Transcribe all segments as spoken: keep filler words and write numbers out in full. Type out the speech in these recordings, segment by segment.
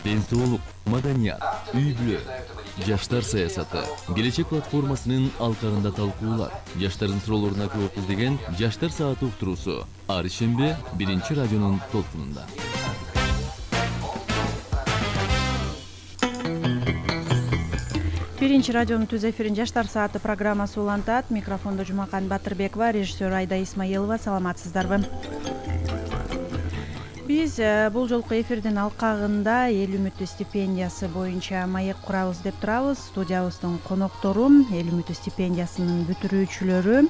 ден соолук, маданият, үй-бүлө, жаштар саясаты, келечек платформасынын алкагында талкуулар, жаштардын суроолоруна жооп издеген Жаштар сааты уктуруусу ар ишемби биринчи радионун толкунунда. Биринчи радионун түз эфирин Жаштар сааты программасы улантат. Микрофондо Жумакан Батырбекова, режиссер Айда Исмаилова. Саламатсыздарбы? Биз бул жолку эфирдин алкагында эл үмүтү стипендиясы боюнча маек курабыз деп турабыз. Студиябыздын коноктору эл үмүтү стипендиясынын бүтүрүүчүлөрү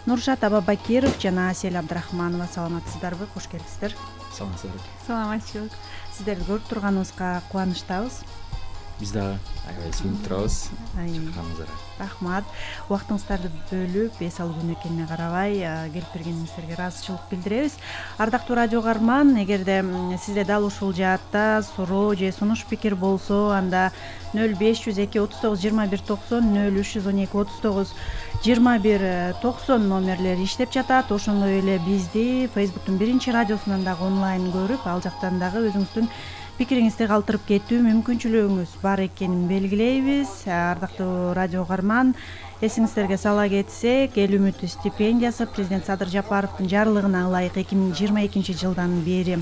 Нуршат Абабакиров жана Асель Абдрахманова. Саламатсыздарбы? Кош келипсиздер. Саламатсыздар. Саламатчылык. Сиздерди көрүп турганыбызга кубанычтабыз. Биз дагы аябай сүрүнүп турабыз. Чакырганыңыздарга рахмат. Убактыңыздарды бөлүп, эс алуу күнү экенине карабай келип бергениңиздерге ыраазычылык билдиребиз. Ардактуу радио каарман, эгерде сизде дал ушул жаатта суроо же сунуш пикир болсо, анда нөл беш жүз эки отуз тогуз жыйырма бир токсон, нөл үч жүз он эки отуз тогуз жыйырма бир токсон номерлери иштеп жатат. Ошондой эле бизди Facebooктун биринчи радиосунан дагы онлайн көрүп, ал жактан дагы өзүңүздүн пикириңизди калтырып кетүү мүмкүнчүлүгүңүз бар экенин белгилейбиз. Ардактуу радио каарман, эсиңиздерге сала кетсек, эл үмүтү стипендиясы президент Садыр Жапаровдун жарлыгына ылайык эки миң жыйырма экинчи жылдан бери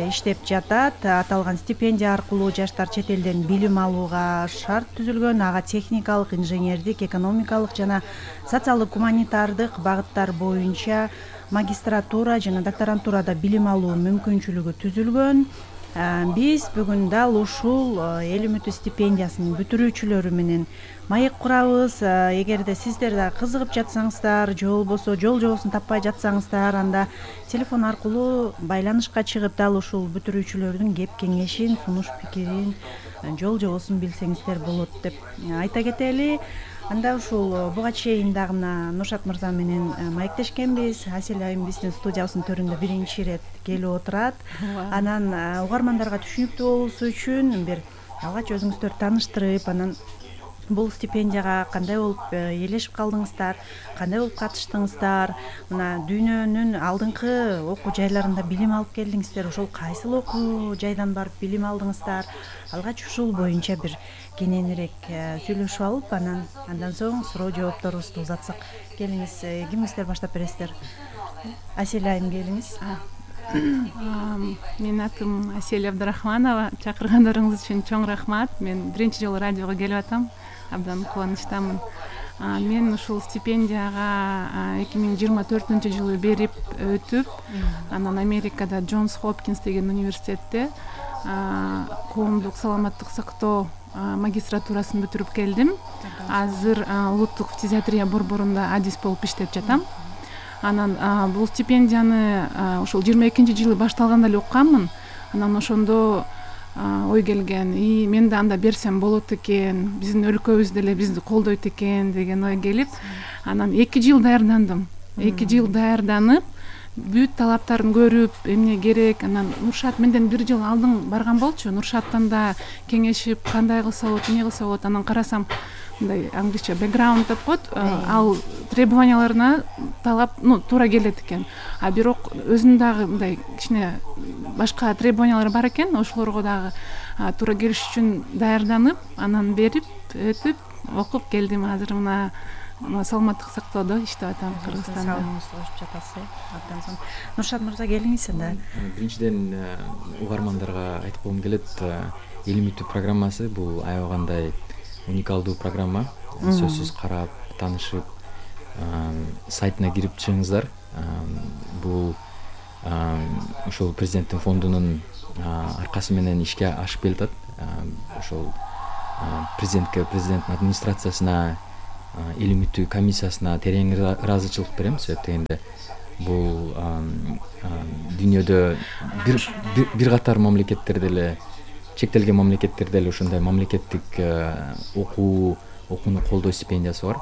иштеп жатат. Аталган стипендия аркылуу жаштар чет элден билим алууга шарт түзүлгөн. Ага техникалык, инженердик, экономикалык жана социалдык гуманитардык багыттар боюнча магистратура жана докторантурада билим алуу мүмкүнчүлүгү түзүлгөн. Биз бүгүн дал ушул эл үмүтү стипендиясынын бүтүрүүчүлөрү менен маек курабыз. Эгерде сиздер да кызыгып жатсаңыздар, же болбосо жол жобосун таппай жатсаңыздар, анда телефон аркылуу байланышка чыгып дал ушул бүтүрүүчүлөрдүн кеп кеңешин, сунуш пикирин, жол жобосун билсеңиздер болот деп айта кетели. Анда ушул буга чейин дагы мына Нуршат мырза менен маектешкенбиз. Асель айым биздин студиябыздын төрүндө биринчи ирет келип отурат. Анан угармандарга түшүнүктүү болуусу үчүн бир алгач өзүңүздөрдү тааныштырып, анан бул стипендияга кандай болуп ээлешип калдыңыздар, кандай болуп катыштыңыздар, мына дүйнөнүн алдыңкы окуу жайларында билим алып келдиңиздер, ошол кайсыл окуу жайдан барып билим алдыңыздар? Алгач ушул боюнча бир кененирээк сүйлөшүп алып, анан андан соң суроо жоопторубузду узатсак. Келиңиз, кимиңиздер баштап бересиздер? Асель айым, келиңиз. Менин атым Асель Абдрахманова. Чакыргандарыңыз үчүн чоң рахмат. Мен биринчи жолу радиого келип атам. Абдан кубанычтамын. Мен ушул стипендияга эки миң жыйырма төртүнчү жылы берип өтүп, анан Америкада Джонс Хопкинс деген университетте коомдук саламаттык сактоо магистратурасын бүтүрүп келдим. Азыр улуттук фтизиатрия борборунда адис болуп иштеп жатам. Анан бул стипендияны ушул жыйырма экинчи жылы башталганда эле укканмын. Анан ошондо ой келген, и мен да анда берсем болот экен, биздин өлкөбүз деле бизди колдойт экен деген ой келип, анан эки жыл даярдандым. эки жыл даярданып, бүт талаптарын көрүп, эмне керек. Анан Нуршат менден бир жыл алдың барган болчу. Нуршаттан да кеңешип, кандай кылса болот, эмне кылса болот. Анан карасам, мындай англисче бэкграунд деп коет, ал требованияларына талап, ну, туура келет экен. А бирок өзүнүн дагы мындай кичине башка требованиялар бар экен. Ошолорго дагы туура келиш үчүн даярданып, анан берип, өтүп, окуп келдим. Азыр мына саламаттык сактоодо иштеп атам Кыргызстанда. Саламыңызды кошуп жатасыз. Абдан сонун. Нуршат мырза, келиңиз анда. Биринчиден угармандарга айтып койгум келет, эл үмүтү программасы бул аябагандай уникалдуу программа. Сөзсүз карап, таанышып, сайтына кирип чыгыңыздар. Бул ошол президенттин фондунун аркасы менен ишке ашып келатат. Ошол президентке, президенттин администрациясына, эл үмүтү комиссиясына терең ыраазычылык берем. Себеп дегенде бул дүйнөдө бир бир катар мамлекеттерде эле, чектелген мамлекеттерде эле ушундай мамлекеттик окуу, окууну колдоо стипендиясы бар.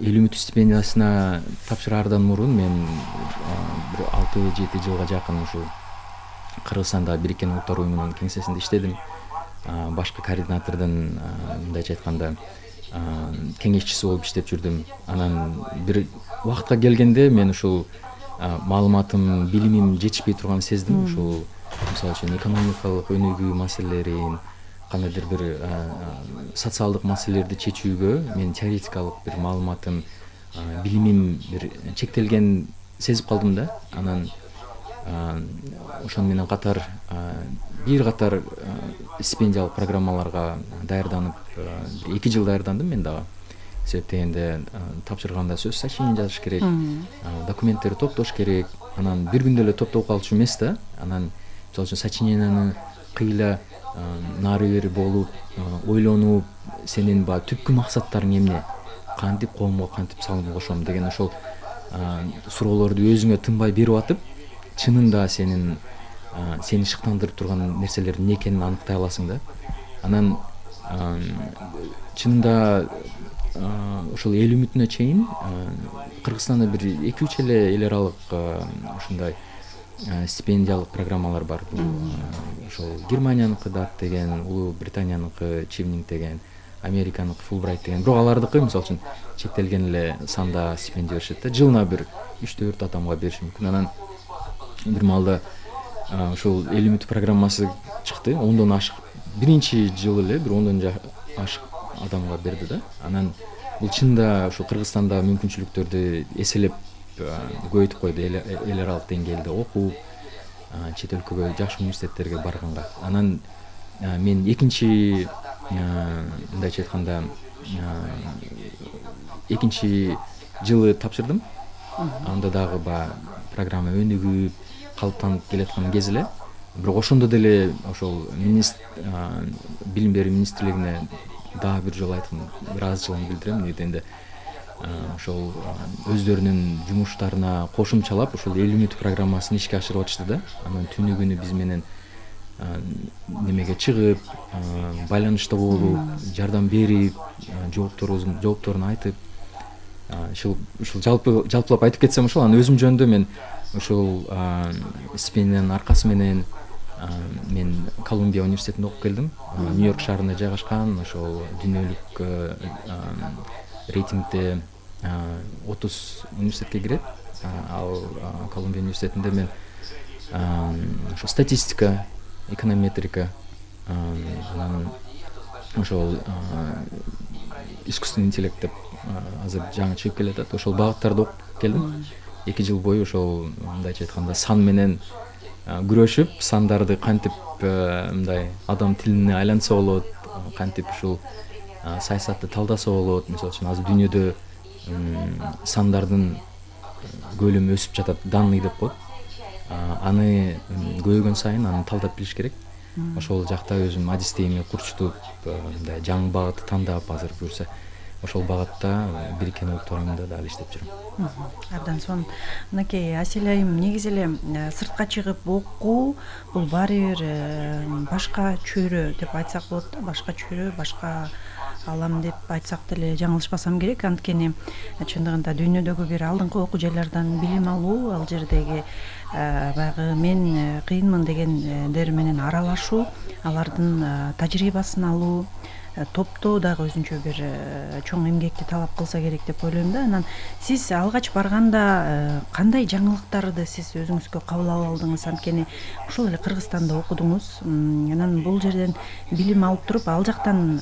Эл үмүтү стипендиясына тапшыраардан мурун мен бир алты жети жылга жакын ушул Кыргызстанда Бириккен Улуттар Уюмунун кеңсесинде иштедим. Башкы координатордун, мындайча айтканда, кеңешчиси болуп иштеп жүрдүм. Анан бир убакытка келгенде мен ушул маалыматым, билимим жетишпей турганын сездим. Ушул мисалы үчүн экономикалык өнүгүү маселелерин, кандайдыр бир социалдык маселелерди чечүүгө мен теоретикалык бир маалыматым, билимим бир чектелген сезип калдым да. Анан ошону менен катар бир катар стипендиялык программаларга даярданып, эки жыл даярдандым мен дагы. Себеп дегенде тапшырганда сөз сочинение жазыш керек, документтерди топтош керек. Анан бир күндө эле топтоп калчу эмес да. Анан мисалы үчүн сочинениени кыйла нары бери болуп, ойлонуп, сенин баягы түпкү максаттарың эмне, кантип коомго кантип салым кошом деген ошол суроолорду өзүңө тынбай берип атып, чынында сенин сени шыктандырып турган нерселер эмне экенин аныктай аласың да. Анан чынында ошол эл үмүтүнө чейин Кыргызстанда бир эки үч эле эл аралык ушундай стипендиялык программалар бар. Бул ошол Германияныкы дат деген, Улуу Британияныкы Чивнинг деген, Американыкы Фулбрайт деген. Бирок алардыкы мисалы үчүн чектелген эле санда стипендия беришет да. Жылына бир үч төрт адамга бериши мүмкүн. Анан бир маалда ошол эл үмүт программасы чыкты. Ондон ашык биринчи жыл эле бир ондон ашык адамга берди да. Анан бул чынында ошо Кыргызстанда мүмкүнчүлүктөрдү эселеп көбөйтүп койду. Эл аралык деңгээлде окуп, чет өлкөгө жакшы университеттерге барганга. Анан мен экинчи мындайча айтканда экинчи жылы тапшырдым. Анда дагы баягы программа өнүгүп, калыптанып келаткан кез эле. Бирок ошондо деле ошол билим берүү министрлигине дагы бир жолу айткым, бир азчылыгын билдирем. Негизинде ошол өздөрүнүн жумуштарына кошумчалап ошол эл үмүт программасын ишке ашырып атышты да. Анан түнү күнү биз менен немеге чыгып, байланышта болуп, жардам берип, жоопторубузун жоопторун айтып, ушул ушул жалпы жалпылап айтып кетсем ошол. Анан өзүм жөнүндө мен ошол стипендиянын аркасы менен мен Колумбия университетинде окуп келдим. Нью-Йорк шаарында жайгашкан, ошол дүйнөлүк рейтингде отуз университетке кирет. Ал Колумбия университетинде мен ошо статистика, эконометрика, анан ошол искусственный интеллект деп азыр жаңы чыгып келатат. Ошол багыттарды окуп келдим. эки жыл бою ошол мындайча айтканда сан менен күрөшүп, сандарды кантип мындай адам тилине айлантса болот, кантип ушул саясатты талдаса болот. Мисалы үчүн азыр дүйнөдө сандардын көлөмү өсүп жатат, данный деп коет. Аны көбөйгөн сайын аны талдап билиш керек. Ошол жакта өзүм адистейимди курчутуп, мындай жаңы багытты тандап азыр буюрса ошол багытта бириккен докторумда дагы иштеп жүрөм. Абдан сонун. Мынакей Асель айым, негизи эле сыртка чыгып окуу бул баары бир башка чөйрө деп айтсак болот да, башка чөйрө, башка алам деп айтсак деле жаңылышпасам керек. Анткени чындыгында дүйнөдөгү бир алдыңкы окуу жайлардан билим алуу, ал жердеги баягы мен кыйынмын дегендер менен аралашуу, алардын тажрыйбасын алуу, топтоо дагы өзүнчө бир чоң эмгекти талап кылса керек деп ойлойм да. Анан сиз алгач барганда кандай жаңылыктарды сиз өзүңүзгө кабыл ала алдыңыз? Анткени ушул эле Кыргызстанда окудуңуз. Анан бул жерден билим алып туруп, ал жактан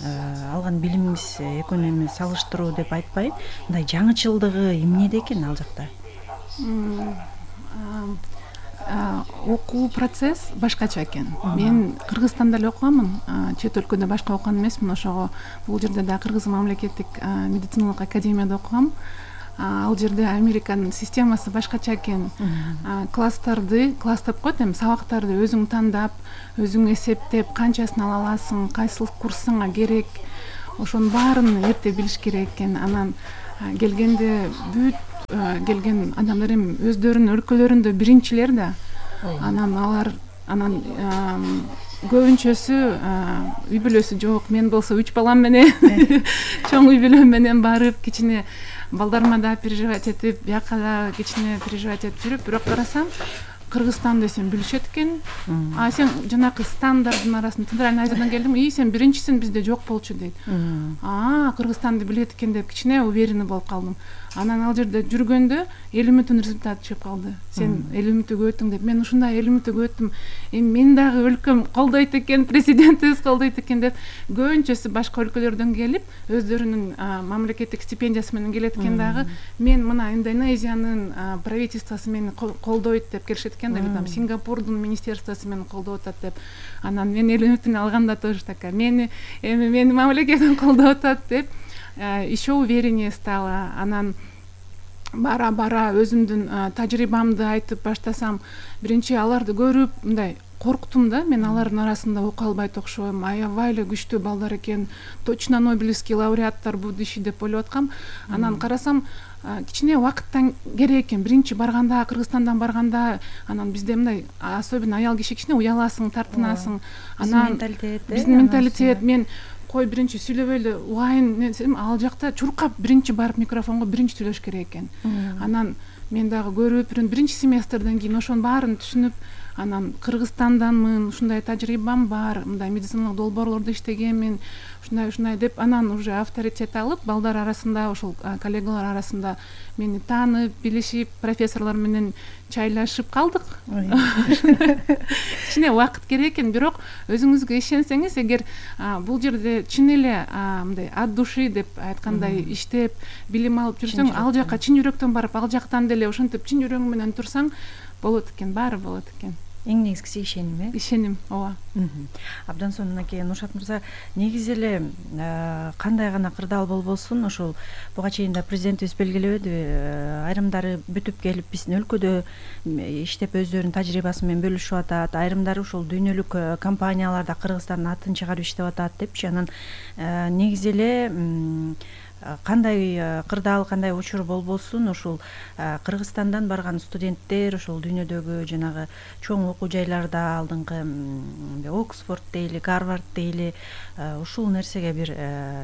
алган билимиңиз экөөнү салыштыруу деп айтпайм. Мындай жаңычылдыгы эмнеде экен ал жакта? Окуу процесс башкача экен. Мен Кыргызстанда эле окуганмын, чет өлкөдө башка окуган эмесмин. Ошого бул жерде да Кыргыз мамлекеттик медициналык академияда окугам. Ал жерде Американын системасы башкача экен. Класстарды, класс деп коет, эми сабактарды өзүң тандап, өзүң эсептеп, канчасын ала аласың, кайсыл курсуңа керек, ошонун баарын эрте билиш керек экен. Анан келгенде бүт келген адамдар эми өздөрүнүн өлкөлөрүндө биринчилер да. Анан алар анан көбүнчөсү үй бүлөсү жок. Мен болсо үч балам менен чоң үй бүлөм менен барып, кичине балдарыма да переживать этип, бияка да кичине переживать этип жүрүп, бирок карасам Кыргызстан десем билишет экен. А сен жанакы стандардын арасында Центральный Азиядан келдим. И сен биринчисин бизде жок болчу дейт. А Кыргызстанды билет экен деп кичине уверенный болуп калдым. Анан ал жерде жүргөндө элүү мүнөттүн результаты чыгып калды. Сен элүү мүнөттүгө өттүң деп. Мен ушундай элүү мүнөттүгө өттүм. Эми мен дагы өлкөм колдойт экен, президентибиз колдойт экен деп көбүнчөсү башка өлкөлөрдөн келип, өздөрүнүн мамлекеттик стипендиясы менен келет экен дагы. Мен мына Индонезиянын правительствосу мени колдойт деп келишет экен да, там Сингапурдун министерствосу мени колдоп атат деп. Анан мен элүү мүнөттүн алганда тоже такая, мени эми мени мамлекетим колдоп атат деп еще увереннее стала. Анан бара бара өзүмдүн тажрыйбамды айтып баштасам, биринчи аларды көрүп мындай корктум да. Мен алардын арасында окуя албайт окшойм. Аябай эле күчтүү балдар экен. Точно Нобелевский лауреаттар будущий деп ойлоп аткам. Анан карасам, кичине убакыттан керек экен. Биринчи барганда, Кыргызстандан барганда, анан бизде мындай особенно аял киши кичине уяласың, тартынасың. Анан биздин менталитет, мен кой биринчи сүйлөбөй эле угайын десем, ал жакта чуркап биринчи барып микрофонго биринчи сүйлөш керек экен. Анан мен дагы көрүп, биринчи семестрден кийин ошонун баарын түшүнүп, анан Кыргызстанданмын, ушундай тажрыйбам бар, мындай медициналык долбоорлордо иштегенмин, ушундай ушундай деп, анан уже авторитет алып, балдар арасында, ошол коллегалар арасында мени таанып, билишип, профессорлор менен чайлашып калдык. Кичине убакыт керек экен, бирок өзүңүзгө ишенсеңиз, эгер бул жерде чын эле мындай от души деп айткандай иштеп, билим алып жүрсөң, ал жака чын жүрөктөн барып, ал жактан деле ошентип чын жүрөгүң менен турсаң, болот экен, баары болот экен. Эң негизгиси ишеним, э? Ишеним, ооба. Абдан сонун аке, Нуршат мырза, негизи эле кандай гана кырдаал болбосун, ошол буга чейин да президентибиз белгилебедиби, айрымдары бүтүп келип биздин өлкөдө иштеп өздөрүнүн тажрыйбасы менен бөлүшүп атат, айрымдары ушул дүйнөлүк компанияларда Кыргызстандын атын чыгарып иштеп атат депчи. Анан негизи эле кандай кырдаал, кандай учур болбосун, ушул Кыргызстандан барган студенттер ошол дүйнөдөгү жанагы чоң окуу жайларда, алдыңкы Оксфорд дейли, Гарвард дейли, ушул нерсеге бир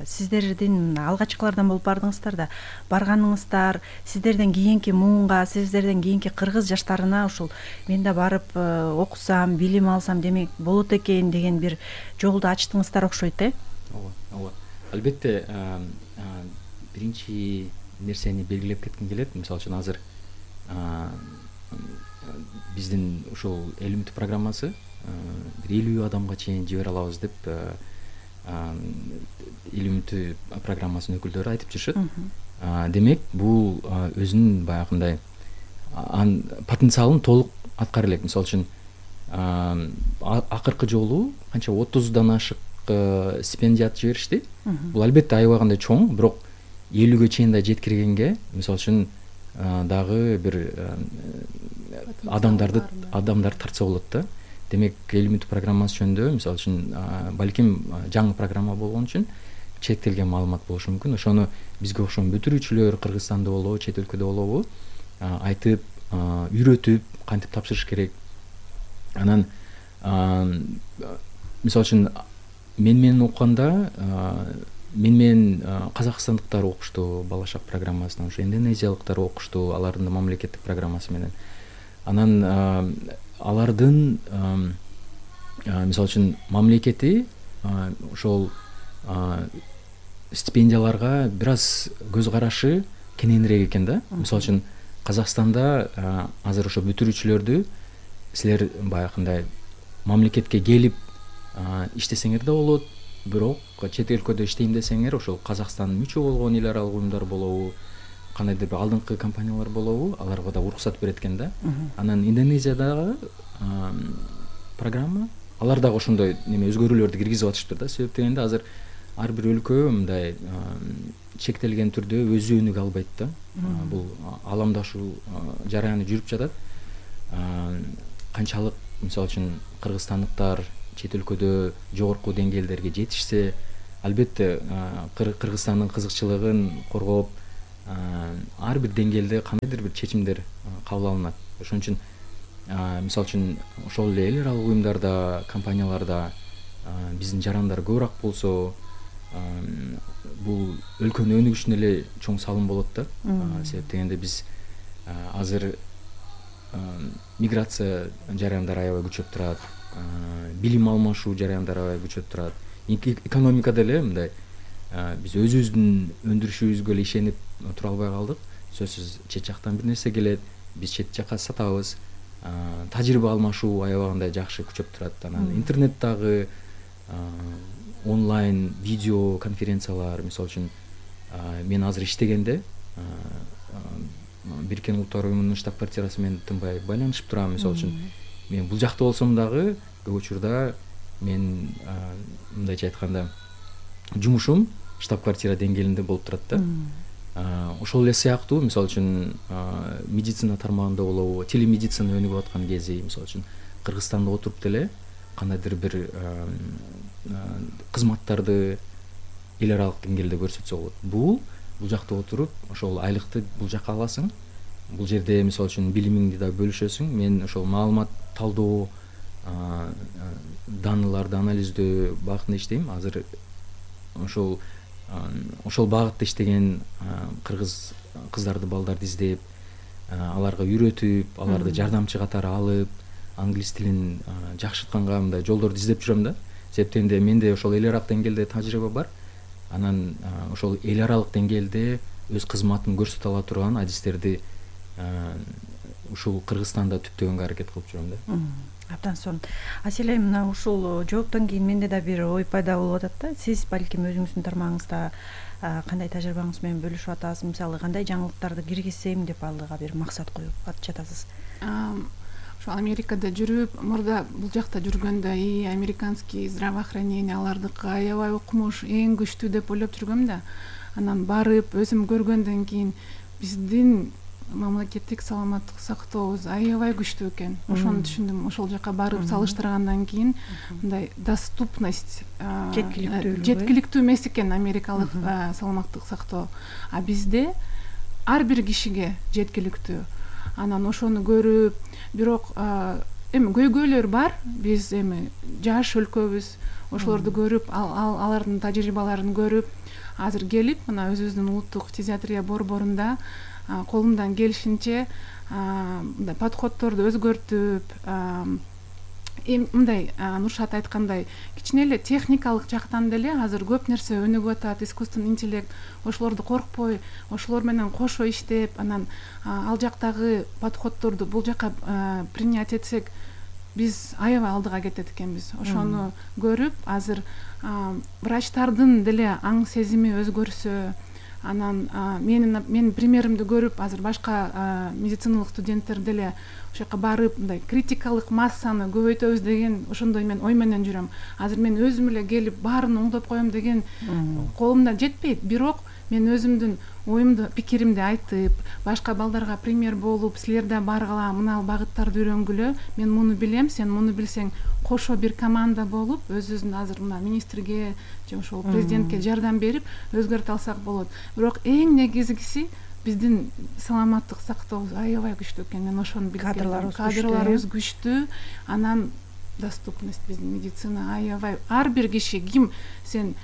сиздердин алгачкылардан болуп бардыңыздар да, барганыңыздар, сиздерден кийинки муунга, сиздерден кийинки кыргыз жаштарына ушул мен да барып окусам, билим алсам демек болот экен деген бир жолду ачтыңыздар окшойт, э? Ооба, ооба. Албетте, биринчи нерсени белгилеп кетким келет. Мисалы үчүн азыр биздин ушул элүү программасы бир элүү адамга чейин жибере алабыз деп элүү программасынын өкүлдөрү айтып жүрүшөт. Демек, бул өзүнүн баягындай потенциалын толук аткара элек. Мисалы үчүн акыркы жолу канча отуздан ашык стипендият жиберишти. Бул албетте аябагандай чоң, бирок элүүгө чейин да жеткиргенге, мисалы үчүн дагы бир адамдарды адамдар тартса болот да. Демек, элүү программасы жөнүндө, мисалы үчүн балким жаңы программа болгон үчүн чектелген маалымат болушу мүмкүн. Ошону бизге окшогон бүтүрүүчүлөр Кыргызстанда болобу, чет өлкөдө болобу айтып, үйрөтүп, кантип тапшырыш керек. Анан мисалы үчүн мен менен окуганда, мен менен казакстандыктар окушту Балашак программасынан, ошо индонезиялыктар окушту алардын мамлекеттик программасы менен. Анан алардын мисалы үчүн мамлекети ошол стипендияларга бир аз көз карашы кененирээк экен да. Мисалы үчүн Казакстанда азыр ошо бүтүрүүчүлөрдү силер баягындай мамлекетке келип иштесеңер да болот, бирок чет өлкөдө иштейм десеңер, ошол Казакстандын мүчө болгон эл аралык уюмдар болобу, кандайдыр бир алдыңкы компаниялар болобу, аларга да уруксат берет экен да. Анан Индонезиядагы программа, алар дагы ошондой неме өзгөрүүлөрдү киргизип атышыптыр да. Себеп дегенде азыр ар бир өлкө мындай чектелген түрдө өз өнүгө албайт да. Бул аламдашуу жараяны жүрүп жатат. Канчалык мисалы үчүн кыргызстандыктар чет өлкөдө жогорку деңгээлдерге жетишсе, албетте Кыргызстандын кызыкчылыгын коргоп, ар бир деңгээлде кандайдыр бир чечимдер кабыл алынат. Ошон үчүн мисалы үчүн ошол эле эл аралык уюмдарда, компанияларда биздин жарандар көбүрөөк болсо, бул өлкөнүн өнүгүшүнө эле чоң салым болот да. Себеп дегенде биз азыр миграция жараяндары аябай күчөп турат, билим алмашуу жараяндары аябай күчөп турат. Экономикада эле мындай биз өзүбүздүн өндүрүшүбүзгө эле ишенип тура албай калдык. Сөзсүз чет жактан бир нерсе келет, биз чет жакка сатабыз. Тажрыйба алмашуу аябагандай жакшы күчөп турат. Анан интернет дагы, онлайн видео конференциялар, мисалы үчүн мен азыр иштегенде Бириккен Улуттар Уюмунун штаб-квартирасы менен тынбай байланышып турам. Мисалы үчүн мен бул жакта болсом дагы көп учурда мен мындайча айтканда жумушум штаб-квартира деңгээлинде болуп турат да. Ошол эле сыяктуу, мисалы үчүн медицина тармагында болобу, телемедицина өнүгүп аткан кези, мисалы үчүн Кыргызстанда отуруп деле кандайдыр бир кызматтарды эл аралык деңгээлде көрсөтсө болот. Бул бул жакта отуруп ошол айлыкты бул жакка аласың. Бул жерде мисалы үчүн билимиңди да бөлүшөсүң. Мен ошол маалымат талдоо, даныларды анализдөө багытында иштейм. Азыр ошол ошол багытта иштеген кыргыз кыздарды, балдарды издеп, аларга үйрөтүп, аларды жардамчы катары алып, англис тилин жакшыртканга мындай жолдорду издеп жүрөм да. Себептен де менде ошол эл аралык деңгээлде тажрыйба бар. Анан ошол эл аралык деңгээлде өз кызматын көрсөтө ала турган адистерди ушул Кыргызстанда түптөгөнгө аракет кылып жүрөм да. Абдан сонун. Аселе, мына ушул жооптон кийин менде да бир ой пайда болуп атат да. Сиз балким өзүңүздүн тармагыңызда кандай тажрыйбаңыз менен бөлүшүп атасыз? Мисалы, кандай жаңылыктарды киргизсем деп алдыга бир максат коюп жатасыз? Ошо Америкада жүрүп, мурда бул жакта жүргөндө, и американский здравоохранение алардыкы аябай укмуш, эң күчтүү деп ойлоп жүргөм да. Анан барып өзүм көргөндөн кийин биздин мамлекеттик саламаттык сактообуз аябай күчтүү экен. Ошону түшүндүм. Ошол жака барып салыштыргандан кийин мындай доступность, жеткиликтүү жеткиликтүү эмес экен америкалык саламаттык сактоо. А бизде ар бир кишиге жеткиликтүү. Анан ошону көрүп, бирок эми көйгөйлөр бар. Биз эми жаш өлкөбүз. Ошолорду көрүп, алардын тажрыйбаларын көрүп, азыр келип, мына өзүбүздүн улуттук фтизиатрия борборунда колумдан келишинче мындай подходторду өзгөртүп, мындай Нуршат айткандай, кичине эле техникалык жактан деле азыр көп нерсе өнүгүп атат. Искусственный интеллект, ошолорду коркпой, ошолор менен кошо иштеп, анан ал жактагы подходторду бул жака принять этсек, биз аябай алдыга кетет экенбиз. Ошону көрүп, азыр врачтардын деле аң сезими өзгөрсө, анан менин менин примеримди көрүп, азыр башка медициналык студенттер деле ошол жака барып, мындай критикалык массаны көбөйтөбүз деген ошондой мен ой менен жүрөм. Азыр мен өзүм эле келип баарын оңдоп коем деген колумдан жетпейт. Бирок мен өзүмдүн оюмду, пикиримди айтып, башка балдарга пример болуп, силер да баргыла, мына багыттарды үйрөнгүлө, мен муну билем, сен муну билсең, кошо бир команда болуп, өзүбүздүн азыр мына министрге же ошол президентке жардам берип өзгөртө алсак болот. Бирок эң негизгиси биздин саламаттык сактообуз аябай күчтүү экен. Мен ошону билип келдим. Кадрларыбыз күчтүү, анан доступность биздин медицина аябай. Ар бир киши, ким сен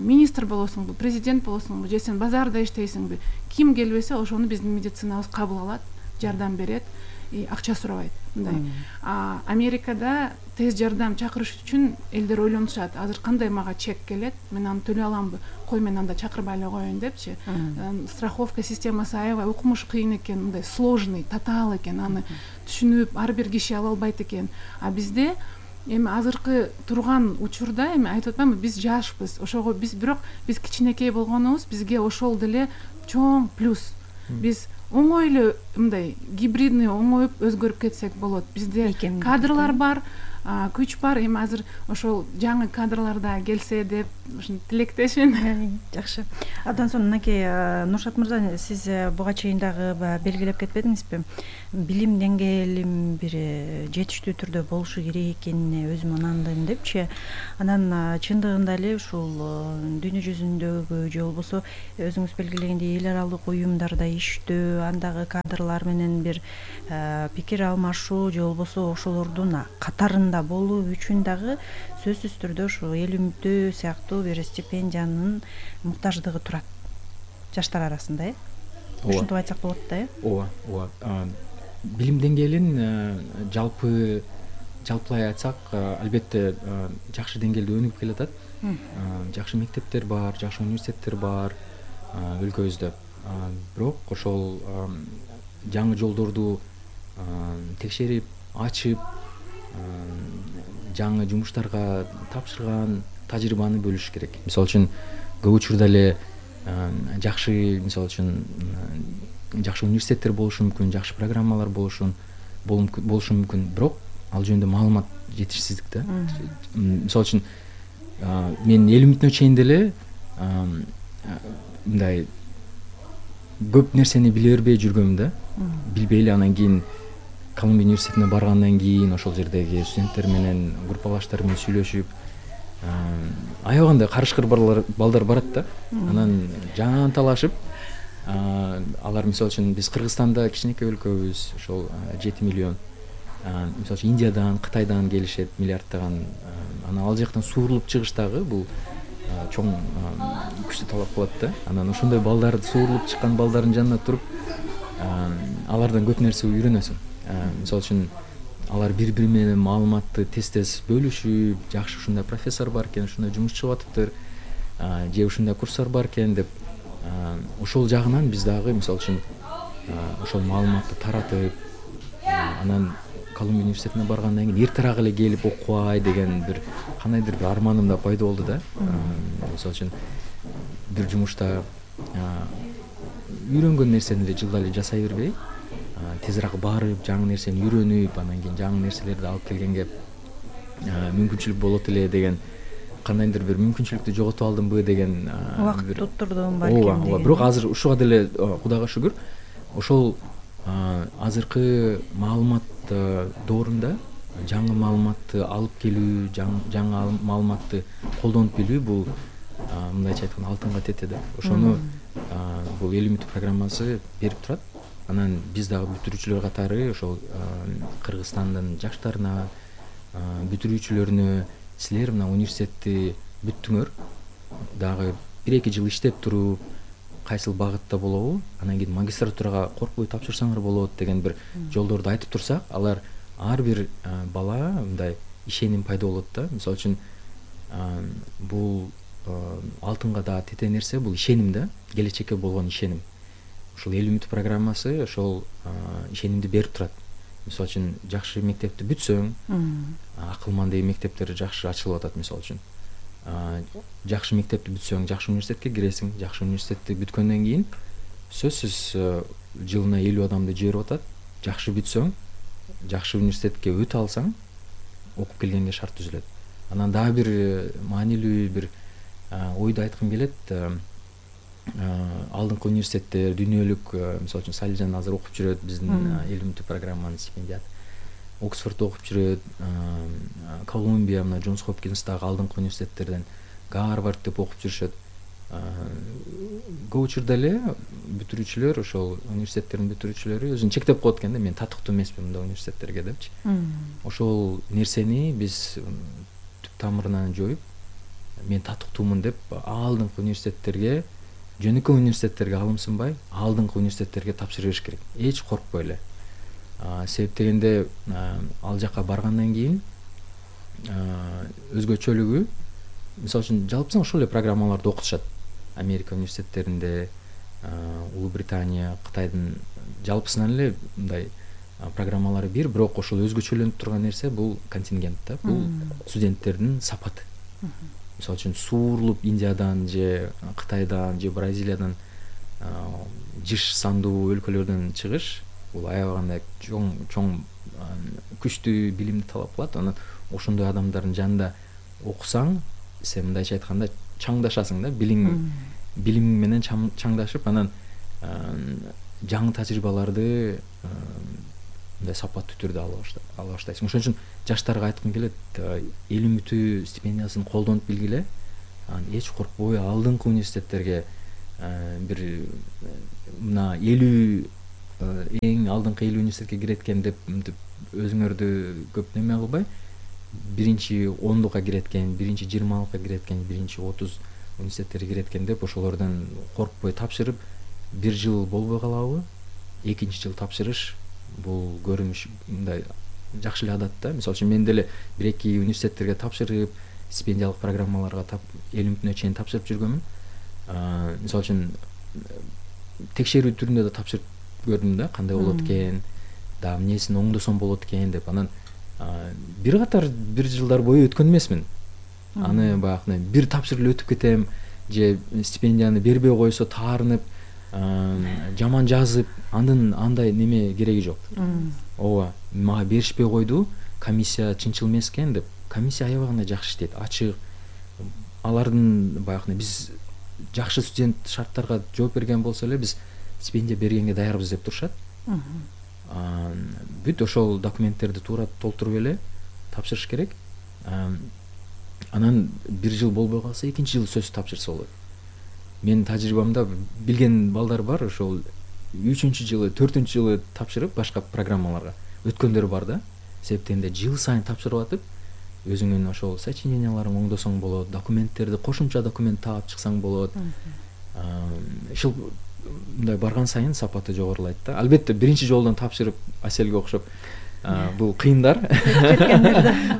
министр болосуңбу, президент болосуңбу, же сен базарда иштейсиңби, ким келбесе ошону биздин медицинабыз кабыл алат, жардам берет, и акча сурабайт. Мындай. А Америкада тез жардам чакырыш үчүн элдер ойлонушат. Азыр кандай мага чек келет, мен аны төлөй аламбы? Кой, мен анда чакырбай эле коеюн депчи. Страховка системасы аябай укмуш кыйын экен, мындай сложный, татаал экен. Аны түшүнүп ар бир киши ала албайт экен. А бизде эми азыркы турган учурда эми айтып атпаймынбы, биз жашпыз. Ошого биз бирок биз кичинекей болгонубуз, бизге ошол деле чоң плюс. Биз оңой эле мындай гибридный оңоюп өзгөрүп кетсек болот. Бизде кадрлар бар, күч бар. Эми азыр ошол жаңы кадрлар да келсе деп ушун тилектешмин. Жакшы. Абдан сонун. Мынакей Нуршат мырза, сиз буга чейин дагы белгилеп кетпедиңизби? Билим деңгээлим бир жетиштүү түрдө болушу керек экенине өзүм ынандым депчи. Анан чындыгында эле ушул дүйнө жүзүндөгү же болбосо өзүңүз белгилегендей эл аралык уюмдарда иштөө, андагы кадрлар менен бир пикир алмашуу же болбосо ошолордун катарында болуу үчүн дагы сөзсүз түрдө ушу эл үмүтү сыяктуу бир стипендиянын муктаждыгы турат жаштар арасында, э? Ушинтип айтсак болот да, э? Ооба, ооба. билим деңгээлин жалпы жалпылай айтсак албетте жакшы деңгээлде өнүгүп келатат. Жакшы мектептер бар, жакшы университеттер бар өлкөбүздө. Бирок ошол жаңы жолдорду текшерип, ачып, жаңы жумуштарга тапшырган тажрыйбаны бөлүш керек. Мисалы үчүн көп учурда эле жакшы, мисалы үчүн жакшы университеттер болушу мүмкүн, жакшы программалар болушу болушу мүмкүн, бирок ал жөнүндө маалымат жетишсиздик да. Мисалы үчүн мен элүү мүнөттөн чейин деле мындай көп нерсени биле бербей жүргөм да. Билбей эле анан кийин Колумбия университетине баргандан кийин ошол жердеги студенттер менен, группалаштар менен сүйлөшүп, аябаганда карышкыр балдар барат да. Анан жан талашып, алар мисалы үчүн биз Кыргызстанда кичинекей өлкөбүз, ошол жети миллион. Мисалы үчүн Индиядан, Кытайдан келишет миллиардтаган. Анан ал жактан суурулуп чыгыш дагы бул чоң күчтү талап кылат да. Анан ошондой балдар, суурулуп чыккан балдардын жанына туруп, алардан көп нерсе үйрөнөсүң. Мисалы үчүн алар бири-бири менен маалыматты тез-тез бөлүшүп, жакшы ушундай профессор бар экен, ушундай жумуш чыгып атыптыр, же ушундай курстар бар экен деп, ошол жагынан биз дагы мисалы үчүн ошол маалыматты таратып, анан Колумбия университетине баргандан кийин эртерээк эле келип окубай деген бир кандайдыр бир арманым да пайда болду да. Мисалы үчүн бир жумушта үйрөнгөн нерсени эле жылда эле жасай бербей, тезирээк барып, жаңы нерсени үйрөнүп, анан кийин жаңы нерселерди алып келгенге мүмкүнчүлүк болот эле деген, кандайдыр бир мүмкүнчүлүктү жоготуп алдымбы деген убакыт туттурдум балким. Ооба, ооба. Бирок азыр ушуга деле Кудайга шүгүр, ошол азыркы маалымат доорунда жаңы маалыматты алып келүү, жаңы маалыматты колдонуп билүү бул мындайча айтканда алтынга тете да. Ошону бул эл үмүтү программасы берип турат. Анан биз дагы бүтүрүүчүлөр катары ошол Кыргызстандын жаштарына, бүтүрүүчүлөрүнө силер мына университетти бүттүңөр, дагы бир-эки жыл иштеп туруп, кайсыл багытта болобу, анан кийин магистратурага коркпой тапшырсаңар болот деген бир жолдорду айтып турсак, алар ар бир бала мындай ишеним пайда болот да. Мисалы үчүн бул алтынга да тете нерсе, бул ишеним да, келечекке болгон ишеним. Ушул эл үмүт программасы ошол ишенимди берип турат. Мисалы үчүн жакшы мектепти бүтсөң, Акылман деген мектептер жакшы ачылып атат мисалы үчүн. Жакшы мектепти бүтсөң, жакшы университетке киресиң. Жакшы университетти бүткөндөн кийин сөзсүз жылына элүү адамды жиберип атат. Жакшы бүтсөң, жакшы университетке өтө алсаң, окуп келгенге шарт түзүлөт. Анан дагы бир маанилүү бир ойду айткым келет. Алдыңкы университеттер, дүйнөлүк, мисалы үчүн Салижан азыр окуп жүрөт, биздин эл үмүтү программанын стипендиат. Оксфордто окуп жүрөт, Колумбия, мына Джонс Хопкинстагы алдыңкы университеттерден, Гарвард деп окуп жүрүшөт. Көп учурда эле бүтүрүүчүлөр, ошол университеттердин бүтүрүүчүлөрү өзүн чектеп коет экен да, мен татыктуу эмесмин мындай университеттерге депчи. Ошол нерсени биз түп тамырынан жоюп, мен татыктуумун деп алдыңкы университеттерге, жөнөкөй университеттерге алымсынбай, алдыңкы университеттерге тапшыра бериш керек. Эч коркпой эле. Себеп дегенде ал жака баргандан кийин өзгөчөлүгү, мисалы үчүн жалпысынан ошол эле программаларды окутушат. Америка университеттеринде, Улуу Британия, Кытайдын жалпысынан эле мындай программалары бир, бирок ошол өзгөчөлөнүп турган нерсе бул контингент да, бул студенттердин сапаты. Мисалы үчүн суурулуп Индиядан же Кытайдан же Бразилиядан жыш сандуу өлкөлөрдөн чыгыш, бул аябагандай чоң чоң күчтүү билимди талап кылат. Анан ошондой адамдардын жанында окусаң, сен мындайча айтканда чаңдашасың да, билим билим менен чаңдашып, анан жаңы тажрыйбаларды мындай сапаттуу түрдө ала баштайсың. Ошон үчүн жаштарга айткым келет, эл үмүтү стипендиясын колдонуп билгиле. Эч коркпой алдыңкы университеттерге бир мына элүү эң алдыңкы элүү университетке кирет экен деп өзүңөрдү көп неме кылбай, биринчи ондукка кирет экен, биринчи жыйырмалыкка кирет экен, биринчи отуз университеттерге кирет экен деп ошолордон коркпой тапшырып, бир жыл болбой калабы, экинчи жыл тапшырыш бул көрүнүш мындай жакшы эле адат да. Мисалы үчүн мен деле бир эки университеттерге тапшырып, стипендиялык программаларга элүү мүнөткө чейин тапшырып жүргөнмүн. Мисалы үчүн текшерүү түрүндө да тапшырып көрдүм да, кандай болот экен, да эмнесин оңдосом болот экен деп. Анан бир катар бир жылдар бою өткөн эмесмин. Аны баягы бир тапшырып өтүп кетем же стипендияны бербей койсо таарынып, жаман жазып, андан андай неме кереги жок. Ооба, мага беришпей койду, комиссия чынчыл эмес экен деп. Комиссия аябагында жакшы иштейт, ачык. Алардын баягы биз жакшы студент шарттарга жооп берген болсо эле биз стипендия бергенге даярбыз деп турушат. Бүт ошол документтерди туура толтуруп эле тапшырыш керек. Анан бир жыл болбой калса экинчи жыл сөзсүз тапшырса болот. Менин тажрыйбамда билген балдар бар, ошол үчүнчү жылы, төртүнчү жылы тапшырып башка программаларга өткөндөр бар да. Себептен жыл сайын тапшырып атып, өзүңүн ошол сочиненияларың оңдосоң болот, документтерди кошумча документ таап чыксаң болот. Ушул мындай барган сайын сапаты жогорулайт да. Албетте биринчи жолдон тапшырып Аселге окшоп бул кыйындар.